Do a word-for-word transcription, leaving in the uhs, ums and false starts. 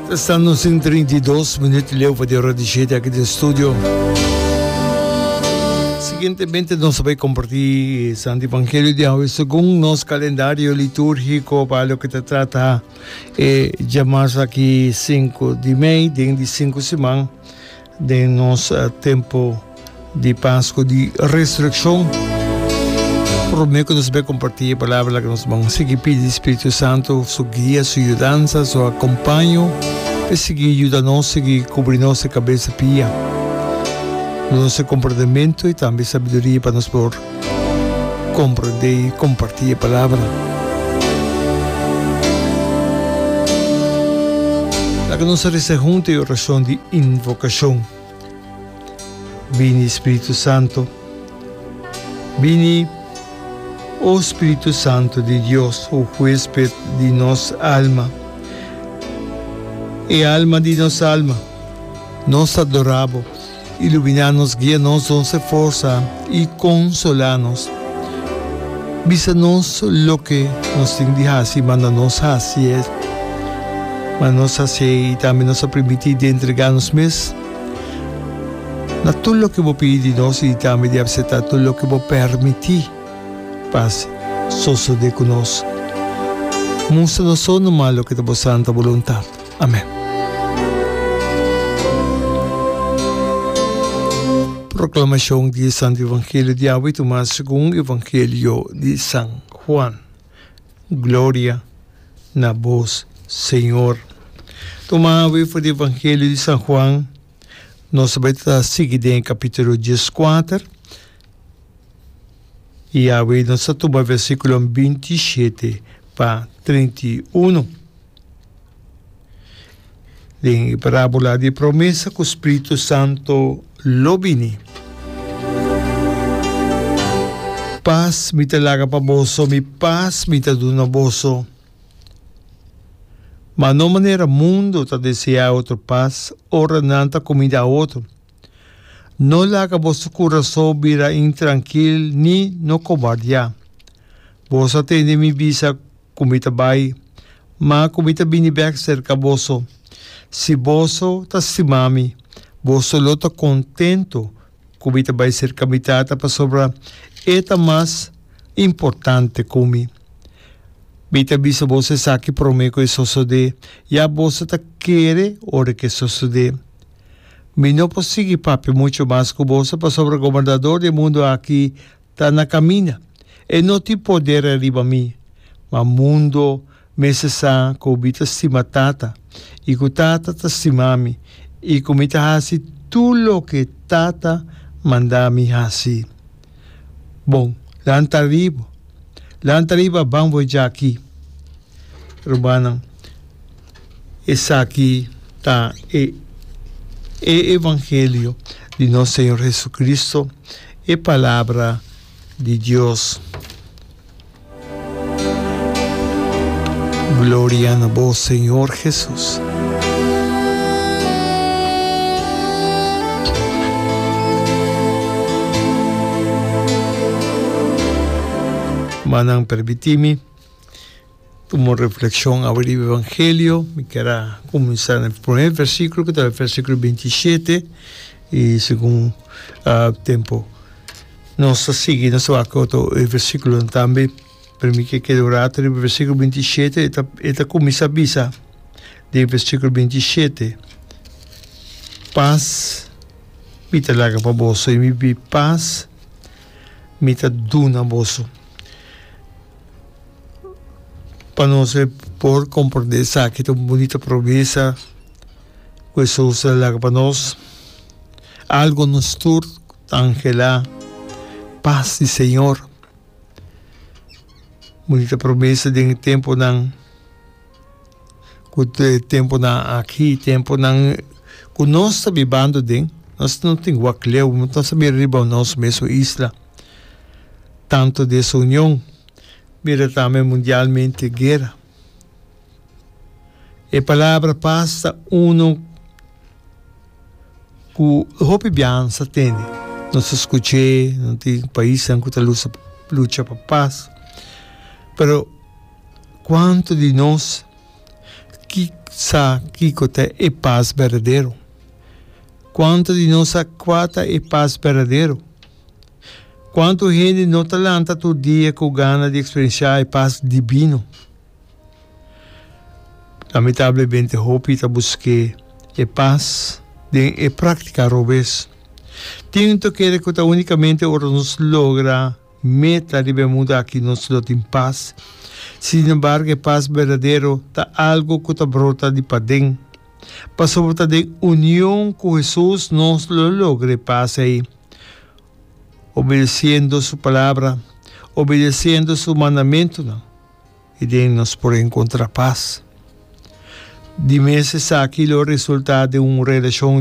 Ta stando sin trinta i dos minuut leu pa di ora di shete aki den studio. Siguientemente nos ta bay comparti e Santo Evangelio di awe segun nos calendario liturgico pa loke ta trata e djamas aki sinku di mei den di sinku siman. Den nos tempu di Pasku di Resurekshon, promé ku nos bai kompartí e palabra laga nos ban sigui pidi Spiritu Santu su guia, su yudansa, su akompaño pa e sigui yuda nos, sigui kubri nos di kabes a pia. Duna nos e komprendementu i tambe sabiduria pa nos por komprendé i kompartí e palabra. Laga nos resa huntu e orashon di invokashon. Bini, Spiritu Santu. Bini, o Spiritu Santu di Dios, o huésped di nos alma, e alma di nos alma. Nos ta adorá bo. Iluminá nos, guia nos, dons e forsa i konsolá nos. Bisa nos loke nos tin di hasi i manda nos hasi e. Manda nos hasi e i tambe nos a primintí di entregá nos mes na tur loke bo pidi di nos i tambe di apseptá tur loke bo permití pa sosodé ku nos. Mustra nos so numa loke ta bo santa boluntat. Amen. Proclamacion di e Santo Evangelio di awe tuma segun Evangelio di San Juan. Gloria na bos, Señor. Tuma awe for di Evangelio di San Juan, nos ta bai ta sigui den e capítulo dieskuater, i awe nos ta tuma versículo binti shete pa trinta i uno. Den e parábola di e promesa ku Spiritu Santo lo bini. Pas mi ta laga pa boso, mi pas mi ta duna boso. Ma no manera mundu ta deseá otro pas ora nan ta kumindá otro. No laga boso kurason bira intrankil ni no kobardiá. Boso a tende mi bisa ku mi ta bai, ma ku mi ta bini bèk serka boso. Si boso ta stima mi, boso lo ta kontentu ku mi ta bai serka mi Tata, pasobra e ta mas importante ku mi. Mi ta bisa boso esaki promé ku e sosodé, ya boso ta kere ora ku e sosodé. Mi no por sigui papia muchu mas ku boso, pasobra gobernador di e mundu aki ta na camina. E no tin poder ariba mi, ma mundo mester sa cu mi ta stima Tata y cu Tata ta stima mi y cu mi ta haci tur loke Tata manda mi haci. Bon, lanta ariba, lanta ariba, ban bo djaki. Rumannan, esaki ta e e evangelio di nos Señor Jesucristo. E Palabra di Dios. Gloria na bo, Señor Jesus. Manan permití mi Tuma un reflexion awe riba Evangelio. Mi kier a cuminsa na e primer versiculo cu ta e versiculo binti i shete y segun tempo nos ta sigui nos ta wak otro e versiculonan tambe. Pero mi kier keda un rato riba e versiculo binti i shete e ta e ta cuminsa bisa den versiculo binti i shete, Pas mi ta laga pa boso y mi pas mi ta duna boso. Pa nos e por comprende esaki ta un bunita promesa cu Hesus a laga pa nos. Algo nos tur ta anhela, pas di Señor. Bunita promesa den e temponan cu e temponan aki, temponan cu nos ta bibando den, nos no tin wak leu, nos ta mira riba nos mesun isla. Tanto desunion, mira tambe mundialmente guera. E palabra pas ta uno ku hopi biansa tene. Nos ta skuch'é, no tin paisnan ku ta lusa lucha pa pas. Pero kuantu di nos Sa kiko ta e pas berdadero? Kuantu di nos sa kua ta e pas berdadero? Kuantu hende no ta lanta tur dia ku gana di eksperensiá e pas dibino? Lamentablemente hopi ta busk'é e pas den e práktika robes. Tin ta kere ku ta únikamente ora nos logra meta riba e mundu aki nos lo tin pas. Sinembargo e pas berdadero ta algu ku ta brota di paden. Pasobra ta den union ku Hesus nos lo logra e pas ei, obedesiendo su palabra, obedesiendo su mandamentunan, i den nos por enkontrá pas. Di mes esaki lo resultá den un relashon.